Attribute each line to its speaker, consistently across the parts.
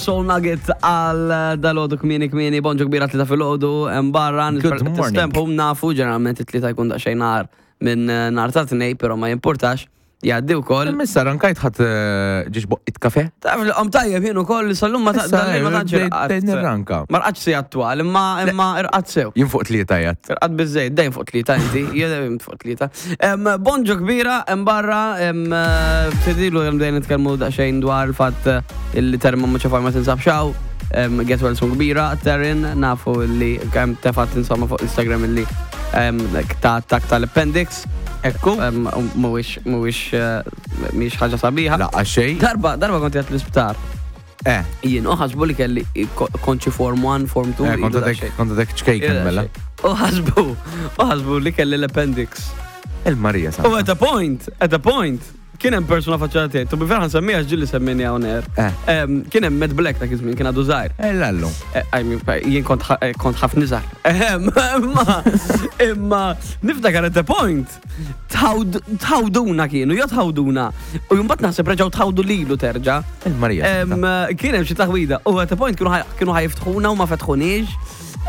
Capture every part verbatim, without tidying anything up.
Speaker 1: Soul Nugget għal dalgħodu kmieni kmieni, bonġu kbira, tlieta filgħodu, barra.
Speaker 2: Good morning.
Speaker 1: Tistempu nafu, ġeneralment it-tlieta jkun daqsxejn nar minn eh, nar ta' tnej, pero ma jimportax, jgħaddi wkoll.
Speaker 2: Issa rankajt ħadd eh, ġiex boqqit kafe?
Speaker 1: Taf li qom tajjeb jien ukoll, sal-lum ma ta'
Speaker 2: Issa,
Speaker 1: dal-lejl ma tantx
Speaker 2: bdejt-
Speaker 1: irqadt.
Speaker 2: bdejt nirranka.
Speaker 1: Ma rqadx si attwal, imma imma irqadt sew.
Speaker 2: Jien fuq tlieta jgħat.
Speaker 1: Irqadt biżejjed, dejjem fuq tlieta inti, jien dejjem fuq tlieta. Em, Bonġu kbira, hemm barra, em, eh, ftidilu hemm dejjem nitkellmu daqsxejn dwar il-fatt eh, illi Terma Muċafaj ma tinsab xaw. Em, Get well soon kbira, Terin, nafu li kemm tefat insomma fuq Instagram illi em, ta' attak tal-appendix.
Speaker 2: Ekku.
Speaker 1: Em, Mhuwiex mhuwiex eh, mhix ħaġa sabiħa.
Speaker 2: Laqqa xej.
Speaker 1: Darba, darba kont qiegħed l-isptar.
Speaker 2: Eh,
Speaker 1: Jien u ħasbu li kelli konċi form one, form two.
Speaker 2: eh, kont
Speaker 1: ilu
Speaker 2: għadek
Speaker 1: daqsxejn.
Speaker 2: kont għadek ċkejken mela.
Speaker 1: U ħasbu, u ħasbu li kelli l-appendix.
Speaker 2: Il-Marija
Speaker 1: U
Speaker 2: sa.
Speaker 1: at a point, at a point, kien hemm persuna faċċata tiegħi, to be fair ħa nsemmiha ġieli semmini hawn air.
Speaker 2: Eh.
Speaker 1: Em, Kien hemm Matt Black dak iż-żmien, kien għadu żgħir.
Speaker 2: Eh, lallu.
Speaker 1: Eh, I mean, jien kont ħa- eh, kont ħafna iżgħar. Ehem, Imma, imma, niftakar at a point, tħawd- tħawduna kienu, jo tħawduna. U mbagħad naħseb reġgħu tħawdu lilu terġa'.
Speaker 2: Il-Marija.
Speaker 1: Em, Kien hemm xi taħwida. U at a point kienu ħaj- kienu ħa jiftħuna u ma fetħuniex.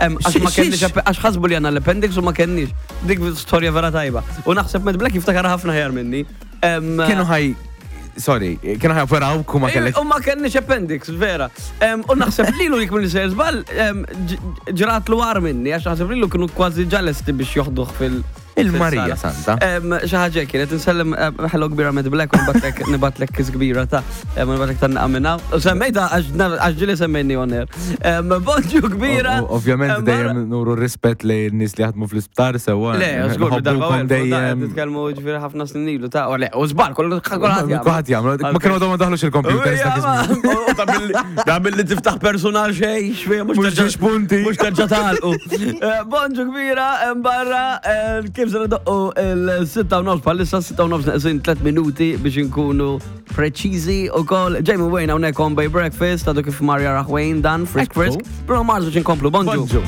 Speaker 1: Em, Għax ma
Speaker 2: Xi-
Speaker 1: kenniex
Speaker 2: xiex?
Speaker 1: app- għax ħasbu li għandna l-appendix u ma kenniex. Dik storja vera tajba. U naħseb Matt Black jiftakar ħafna aħjar minni. Em,
Speaker 2: Kienu ħaj, sorry, kienu ħaj operaw kuma kellek.
Speaker 1: U ma kenniex appendix, vera. Em, U naħseb lilu jekk minn sejjer żball, em, ġ- ġratlu agħar minni, għax naħseb lilu kienu kważi ġalesti biex joħduh fil-
Speaker 2: Il-Marija
Speaker 1: fil-sala.
Speaker 2: Santa.
Speaker 1: Em, Xi ħaġa kienet insellem em, hello kbira Matt Black u nibatlek nibatlek kiss kbira ta' em, nibatlek tan minna. U semmejta għax għax ġieli semmejni on air. Em, Bonġu kbira.
Speaker 2: O- o- Ovvjament
Speaker 1: Em,
Speaker 2: dejjem nuru rispett li n-nies li jaħdmu fl-isptar sewwa.
Speaker 1: Le, żgur, darba
Speaker 2: Nħobbukom dejjem.
Speaker 1: nitkellmu ġifieri ħafna snin ilu ta' u le, u żball, kollu kulħadd jagħmel.
Speaker 2: Kulħadd jagħmlu. Ma kienu għadhom ma daħlux il-computers dak iż-żmien.
Speaker 1: Da billi tiftaħ personal xej, xfej, mux
Speaker 2: Mhux ġiex punti.
Speaker 1: Mux terġa talqu. Eh, Bonġu kbira, hemm barra, eh, kif se doqqu il-sitta u nofs, bħalissa sitta u nofs neqsin tliet minuti biex nkunu preċiżi u koll. Jamie Wayne hawnhekk on Bay Breakfast, għadu kif Marja Wayne dan, frisk
Speaker 2: Ekku.
Speaker 1: frisk. Bruno Mars biex nkomplu, bonġu.
Speaker 2: Bonġu.